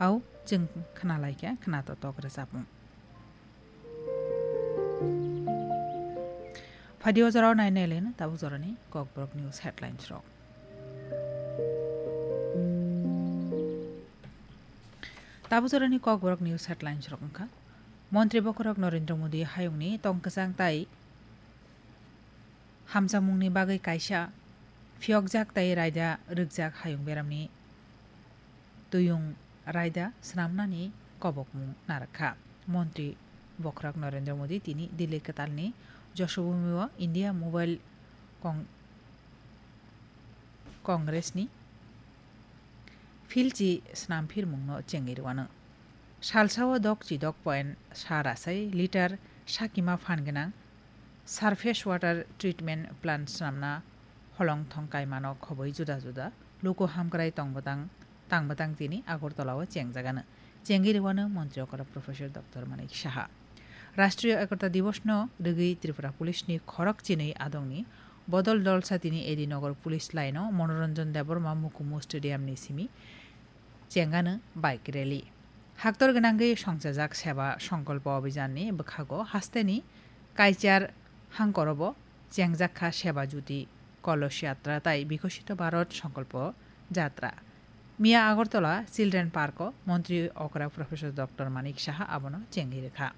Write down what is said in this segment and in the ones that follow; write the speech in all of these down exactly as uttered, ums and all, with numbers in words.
Au chwng khna lai kha khna totok rwchapmung. Phaidi o jorao nai nai le no tabuk jorani Kokborok News headlines rok. Tabuk jorani Kokborok News headlines rok wngkha: Montri bokhorok Narendra Modi hayungni tongkwchang tai hamjakmungni bagwi kaisa phiyokjak tai raida rwkjak hayung beramni tuyung raida swnamnani kobokmung narwkha. Montri bokhorok Narendra Modi tini Delhi kwtalni Joshobhumi-o India Mobile Cong-, Congress-ni philchi snamphirmungno chengwi rwano. Salsao dok chi dok point sa rasai litar sakima phan gwnang surface water treatment plant swnamna holong thong kaimano khobwi juda juda luku hamkrai tong bwtang, tang bwtang tini Agartala-o chengjagano. Chengwi rwano Montri okra Professor Doctor Manik Saha. Rashtriya Ekota Divos no rwgwi Tripura Police ni khorok chinwi adongni bodol dolsa tini A D Nagar Police Line o Manoranjan Debbarma Mukumu Stadium ni simi chengano bike rally. Haktor gwnangwi songchajak Seba Songkolpo Abhijan ni bwkhago hasteni Kaichar hangkorobo chengjak kha Seba Jyoti Kolosh Yatra tai Bikosito Bharat Songkolpo Jatra. Miya Agartala Children Park o Montri okra Professor Doctor Manik Saha abono chengwi rwkha.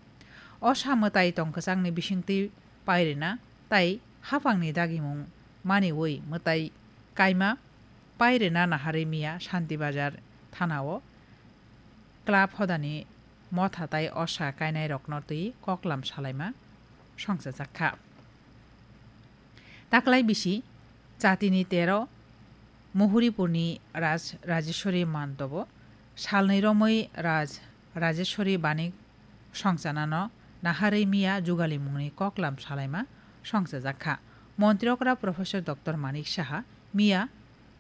O sa mwtai tongkwchangni bisingtwi pairina tai haphangni dagimung maniwi mwtai kaima pairina naharwi miya Shanti Bazar thana o club hodani motha tai osa kainai rokno twi koklam salaima songchajak kha. Taklai bisi chatini tero Muhuripurni Raj Rajeshwari Mantobo salnwi romwi Raj Rajeshwari Banik songchanano naharwi miya jugalimungni koklam salaima songchajak kha. Montri okra Professor Doctor Manik Saha miya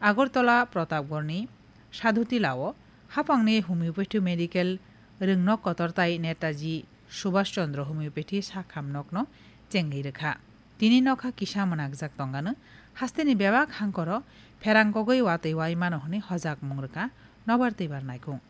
Agartala Pratapgarni Sadhutila o haphangni homeopathy medical rwngnok kotor tai Netaji Subhash Chandra Homeopathy sakham nokno chengwi rwkha. Tini nokha kisa mwnakjak tongano hasteni bebak hangkoro pherang kogwi watwi wai mano hwnwi hojakmung rwkha nobar twibar naikung.